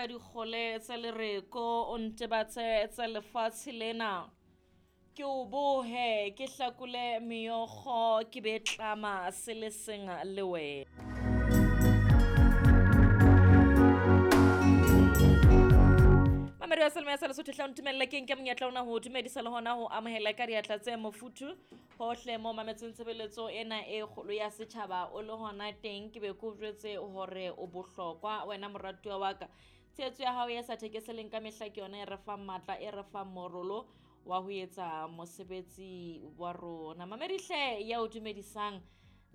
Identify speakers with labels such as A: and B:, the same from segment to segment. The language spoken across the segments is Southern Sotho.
A: ka dikgole tsa lereko, o ntebatse tsa lefatshe lena. Ke o bohe, ke hlakole meokgo, ke be tlama se le seng le wena. Mamedi wa Selemo ya sa Lesotho, hle o ntumelle ke nke monyetla ona ho dumedisa le hona ho amohela ka diatla tse mofuthu hohle mo mametseng tshebeletso ena e kgolo ya setjhaba o le hona teng. Ke be ke o jwetse hore o bohlokwa wena moratuwa wa ka. Tshehetso ya hao e sa thekeseleng ka mehla ke yona e re fang matla, e re fang morolo wa ho etsa mosebetsi wa rona. Mamedi hle ya o dumedisang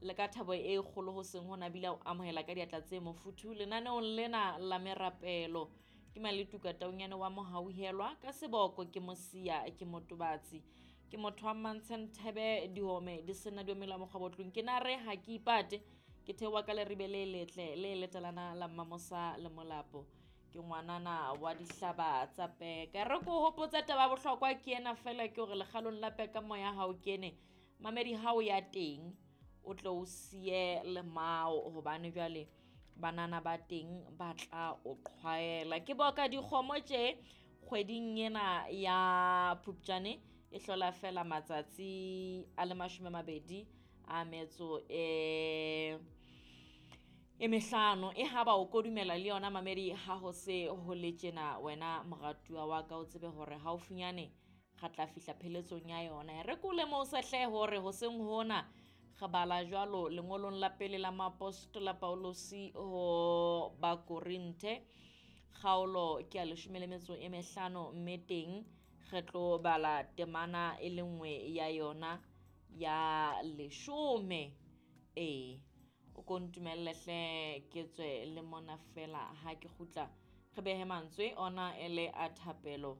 A: le ka thabo e kgolo ho seng hona bile o amohela ka diatla tse mofuthu lenaneong lena la merapelo. Ke Maletuka Taunyane wa Mohauhelwa, ka seboko ke Mosia, ke Motobatsi, ke motho wa Mmantshe Nthebe, dihome di sena diomela mokgwabotlong. Ke na re ha ke ipate, ke theoha ka leribe le letle le letalana la Mmamosa le Molapo. Ke ngwanana wa dihlaba tsa peka. Re ko hopotsa taba ya bohlokwa ke ena fela, ke hore lekgalong la peka moya ha o kene, mamedi ha o ya teng o tle o siye lemao, hobane jwale banana ba teng ba tla o qhwaela. Ke boka dikgomo tje kgweding ena ya Phupjane e hlola fela matsatsi a le 20 a metso e mehlano. E haba o kodumela le yona mamedi ha ho se ho le tjena, wena moratuwa wa ka o tsebe hore haufinyane re tla fihla pheletsong ya yona. Re ko lemose hle hore hoseng hona re bala jwalo lengolong la pele la moapostola Paulosi ho Bakorinthe, kgaolo ke ya 15, mme teng re tlo bala temana e le nngwe ya yona ya 10. Ee, o ko ntumelle hle ke tswe le mona fela ha ke kgutla re behe mantswe ona e le a thapelo.